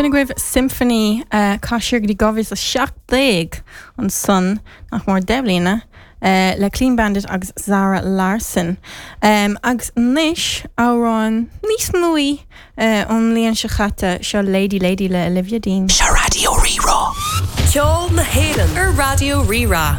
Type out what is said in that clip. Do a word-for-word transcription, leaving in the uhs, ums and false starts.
Sin agaibh Symphony uh, caiir go dtí dhá mhíle a seacht déag ansan nach mór deich mbliana. Uh, le Clean Bandit agus Zara Larsson. Um, agus anois amhrán níos nuaí uh, ón mbliain seo caite seo Lady Lady le Olivia Dean. Seo Raidió Rí-Rá. Ceol na hÉireann ar Raidió Rí-Rá.